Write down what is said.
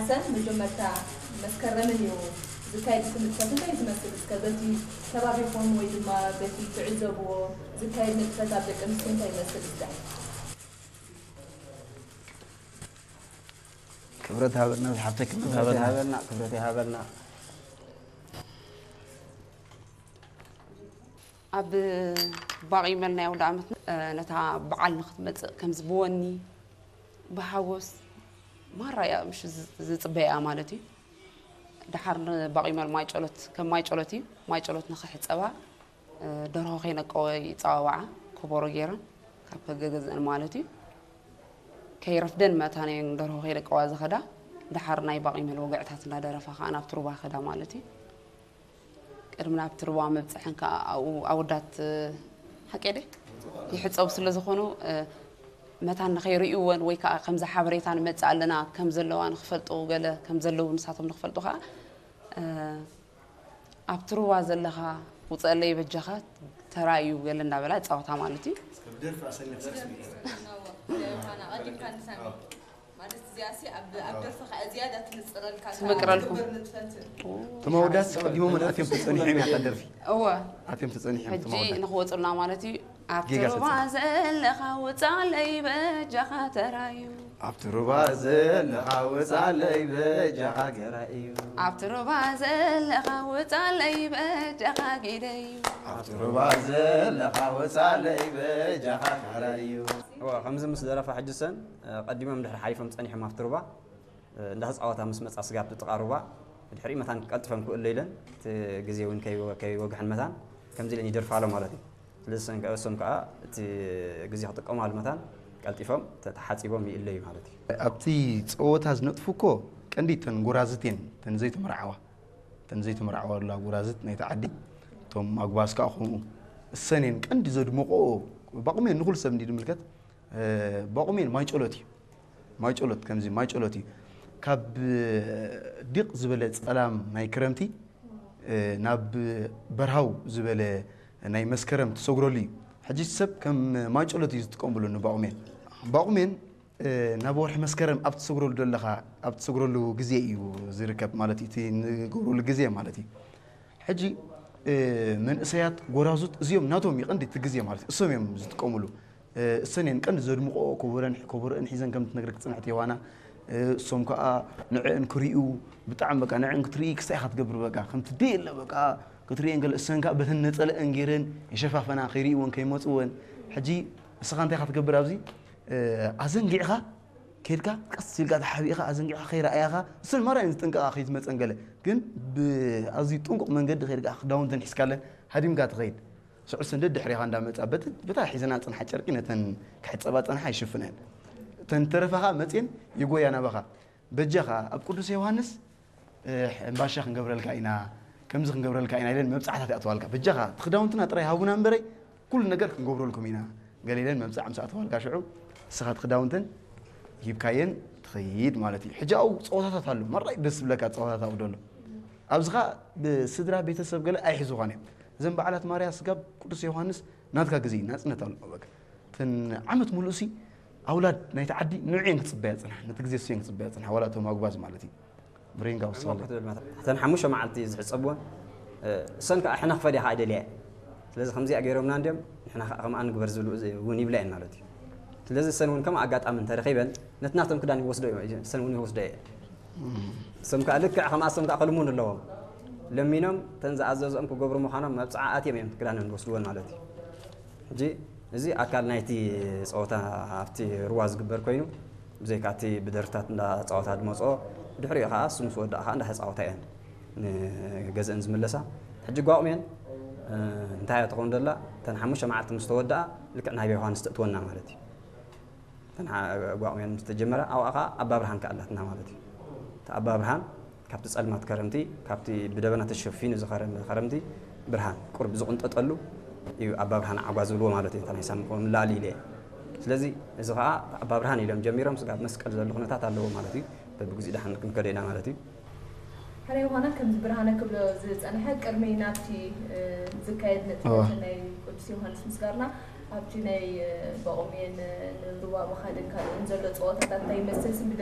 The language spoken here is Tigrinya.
ሰን መጀመርታ መስከረምን እዩ ዝካየድ እቲ ንጥፈት። እንታይ ዝመስል እስከ በቲ ከባቢኹም ወይ ድማ በቲ ትዕዘብዎ ዝካየድ ንጥፈት ኣብ ደቂ ኣንስትዮ እንታይ ይመስል እስከ? ክብረት ሃበልና ዝሓፍተይ ክብረት ክብረት ሃበልና ይሃበልና፣ ክብረት ይሃበልና። ኣብ ባቒመል ናይ ኣውደ ዓመት ነታ በዓል ንክትመፅእ ከምዚ ብወኒ ብሃጎስ ማራ እያ ምሽ ዝፅበያ ማለት እዩ። ደሓር ንባቒመል ማይ ጨሎት ከም ማይ ጨሎት እዩ። ማይ ጨሎት ንክሕፀባ ደርሆ ከይነቀወ ይፀዋወዓ ኮቦሮ ገይረን ካብ ገገዝአን ማለት እዩ። ከይረፍደን መታን እየን ደርሆ ከይደቀዋ ዝኸዳ። ደሓር ናይ ባቒመል ወግዕታት እንዳደረፋ ከዓ ናብ ትሩባ ከዳ ማለት እዩ። ቅድሚ ናብ ትሩባ ምብፅሐን ከዓ ኣብኡ ኣወዳት ሓቄደ ይሕፀቡ ስለ ዝኾኑ መታን ንኸይርእይወን ወይ ከዓ ከምዚ ሓበሬታ ንመፅእ ኣለና ከም ዘለዋ ንክፈልጡ ገለ ከም ዘለዉ ንሳቶም ንክፈልጡ ከዓ ኣብ ትሩባ ዘለኻ ውፀለይ በጃኻ ተራዩ ገለ እንዳበላ ፃወታ ማለት እዩ። ማለት እዚኣሲ ኣብ ኣብ ደርፊ ከዓ ዝያዳ ትንፅረልካ ትምቅረልኩም። ትግበር ንጥፈትን እቶም ኣወዳት ቀዲሞም ኣትዮም ተፀኒሖም እያ እታ ደርፊ እወ ኣትዮም ተፀኒሖም እቶም ሕጂ ኣወዳት ንክወፁልና ማለት እዩ። ኣብቲ ጌጋ ሩባ ተፃ- ዘለኻ ውፃለይ በጃኻ ተራዩ። ኣብቲ ሩባ ዘለኻ ወፃለይ በጃኻ ገራይ እዩ። ኣብቲ ሩባ ዘለኻ ውፃለይ በጃኻ ጊደዩ። ኣብቲ ሩባ ዘለኻ ወፃለይ በጃኻ ገራይ እዩ። እወ፣ ከምዚ ምስ ደረፋ ሕጂ ሰን ቀዲሞም ድሕሪ ሓሊፎም ፀኒሖም ኣብቲ ሩባ እንዳተፃወታ ምስ መፃ ስጋብ ጥቃ ሩባ ድሕሪ መታን ቀልጥፈን ክእለ ኢለን እቲ ግዜ እውን ከይወ- ከይወግሐን መታን ከምዚ ኢለን ይደርፋ ኣሎ ማለት እዩ። ስለዚ ሰን- እሶም ከዓ እቲ ግዜ ክጥቀማሉ መታን ቀልጢፎም ተተሓፂቦም ይእለዩ ማለት እዩ። ኣብቲ ፀወታ ዝነጥፉ እኮ ቀንዲ እተን ጎራዝት እየን፣ እተን ዘይተመርዓዋ እተን ዘይተመርዓዋ ኣላ ጎራዝት ናይቲ ዓዲ። እቶም ኣጉባዝ ከዓ ከምኡ እሰን እየን ቀንዲ ዘድምቆ። ባቑም እየን ንኩሉ ሰብ እንዲ ዝምልከት ባቑም እየን ማይ ጨሎት እዩ። ማይ ጨሎት ከምዚ ማይ ጨሎት እዩ። ካብ ዲቕ ዝበለ ፀላም ናይ ክረምቲ ናብ በርሃው ዝበለ ናይ መስከረም ትሰጉረሉ እዩ። ሕጂ ሰብ ከም ማይ ጨሎት እዩ ዝጥቀምሉ ንባቑሜን። ባቑሜን ናብ ወርሒ መስከረም ኣብ ትሰጉረሉ ዘለኻ ኣብ ትሰጉረሉ ግዜ እዩ ዝርከብ ማለት እዩ። እቲ ንገብረሉ ግዜ ማለት እዩ። ሕጂ መንእሰያት ጎራዙት እዚኦም ናቶም ይቐንዲ እቲ ግዜ ማለት እዩ። እሶም እዮም ዝጥቀምሉ። እሰን እየን ቀንዲ ዘድምቆ ኮቦረን ኮቦረን ሒዘን ከም ትነግረክ ዝጸንሐት የዋና። እሶም ከኣ ንዕን ክሪኡ ብጣዕሚ በቃ ንዕን ክትርኢ ክስታይ ኢኻ ትገብር በቃ ከምቲ ደይ የለ በቃ ክትሪኤን ገለ እሰን ከኣ በተን ነጸለአን ገይረን የሸፋፈና ከይርእይወን ከይመጽወን። ሕጂ እስኻ እንታይ ኢኻ ትገብር ኣብዚ ኣዘንጊዕኻ ከይድካ ቀስ ኢልካ ተሓቢእኻ ኣዘንጊዕኻ ከይረኣያኻ እሰን ማራ እየን ዝጥንቀቓ ከይትመጸን ገለ ግን ብኣዝዩ ጥንቁቕ መንገዲ ከይድካ ክዳውንተን ሒዝካለን ሃዲምካ ትኸይድ። ስዑ ሰንደድ ድሕሪኻ እንዳመጻ በቲ በታ ሒዘና ጽንሓ ጨርቂ ነተን ክሕጸባ ጸንሓ ይሽፍነን። እተን ተረፋኻ መጽየን ይጎያ ናባኻ። በጃኻ ኣብ ቅዱስ ዮሃንስ እምባሻ ክንገብረልካ ኢና ከምዚ ክንገብረልካ ኢና ኢለን መብጻዕታት ይኣትዋልካ። በጃኻ እቲ ክዳውንትና ጥራይ ሃቡና እምበረይ ኩሉ ነገር ክንገብረልኩም ኢና ገለ ኢለን መብጻዕ ምስ ኣትዋልካ ሽዑ እስኻ እቲ ክዳውንተን ሂብካየን ትኸይድ ማለት እዩ። ሕጂ ኣብኡ ጸወታታት ኣሎ። መራይ ደስ ዝብለካ ጸወታታት ኣብኡ ደሎ። ኣብዚ ኸኣ ብስድራ ቤተሰብ ገለ ኣይሕዙኻን እዮም። እዘን በዓላት ማርያ ስጋብ ቅዱስ ዮሃንስ ናትካ ግዜ እዩ፣ ናጽነት ኣሎ። በቃ እተን ዓመት ሙሉእ ሲ ኣውላድ ናይቲ ዓዲ ንዕየን ክጽበያ ጽንሓ፣ ነቲ ግዜ እሱ እየን ክጽበያ ጽንሓ፣ ዋላ እቶም ኣጉባዝ ማለት እዩ። ብሬንጋ ውሳለ ክትብል መታ እተን ሓሙሽተ መዓልቲ ዝሕጸብወን እሰን ከዓ ሕነ ክፈድያ ከዓ ኣይደልያ እየን። ስለዚ ከምዚኣ ገይሮምና እንድዮም ንሕና ከዓ ከምኣ ንግበር ዝብሉ እውን ይብላ እየን ማለት እዩ። ስለዚ እሰን እውን ከም ኣጋጣሚ እንተረኺበን ነቲ ናቶም ክዳን ይወስዶ እሰን እውን ይወስዶ እየ። እሶም ከዓ ልክዕ ከምኣ እሶም ከዓ ክልሙን ኣለዎም። ለሚኖም እተን ዝኣዘዝኦም ክገብሩ ምዃኖም መብፅዓ ኣትዮም እዮም ክዳነን ዝወስድወን ማለት እዩ። ሕጂ እዚ ኣካል ናይቲ ፀወታ ኣብቲ ሩባ ዝግበር ኮይኑ ብዘይካ እቲ ብደርፍታት እንዳተፃወታ ዝመፅኦ ድሕሪኡ ከዓ እሱ ምስ ወዳእ ከዓ እንዳተፃወታ እየን ንገዝአን ዝምለሳ። ሕጂ ጓቑሜን እንታይ እያ ትኸውን ዘላ እተን ሓሙሽተ መዓልቲ ምስ ተወድኣ ልክዕ ናይ ዮሃንስ ተእትወና ማለት እዩ። እተን ጓቑሜን ምስ ተጀመረ ኣብኣ ከዓ ኣባ ብርሃን ከዓ ኣላትና ማለት እዩ። እቲ ኣባ ብርሃን ካብቲ ጸልማት ከረምቲ ካብቲ ብደበና ተሸፊኑ ዝኸረመ ከረምቲ ብርሃን ቁርብ ዝቕንጠጠሉ እዩ ኣባ ብርሃን ዓጓ ዝብልዎ ማለት እዩ። እንታይ ናይ ሳሚ ክኸውን ላሊ ኢለ እየ። ስለዚ እዚ ኸዓ ኣባ ብርሃን ኢሎም ጀሚሮም ስጋብ መስቀል ዘሎ ኩነታት ኣለዎ ማለት እዩ። በብግዚኡ ደሓን ክንከዶ ኢና ማለት እዩ። ሕራይ ምዃና ከምዚ ብርሃነ ክብሎ ዝጸንሐ ቅድሚ ናብቲ ዝካየድ ንጥፈት ናይ ቅዱስ ዮሃንስ ምስጋርና ኣብቲ ናይ በቑሜን ንሩባ ምኻድን ካልእን ዘሎ ጸወታታት እንታይ ይመስል ስም